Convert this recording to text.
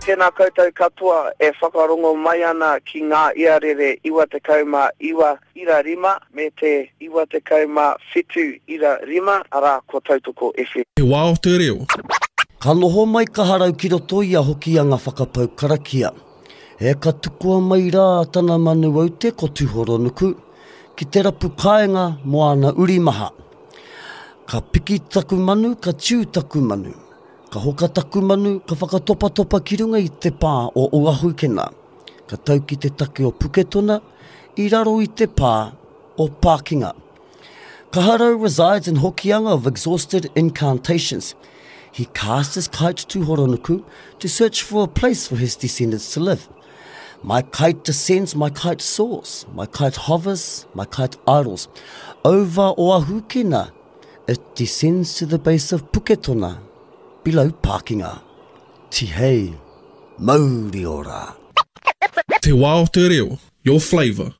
Tēnā koutou katoa e whakarongo mai ana ki ngā iarere 99 ira rima me te 97 ira rima, arā, ko Tautoko FM. Te wā o te reo. Ka noho mai Kaharau ki roto i a Hokianga whakapau karakia. E ka tukua mai rā tana manu aute ko Tuhoronuku ki te rapu kāinga mō ana uri maha. Ka piki taku manu, ka tiu taku manu. Ka hoka taku manu, ka whakatopatopa ki runga i te pā o Oahukena. Ka tau ki te take o Puketona, i raro i te pā o Pākinga. Kaharau resides in Hokianga of exhausted incantations. He cast his kite to Horonuku to search for a place for his descendants to live. My kite descends, my kite soars, my kite hovers, my kite idles. Over Oahukena, It descends to the base of Puketona, below Pākinga. Tihei, mauri ora! Te wā o te reo, your flavour.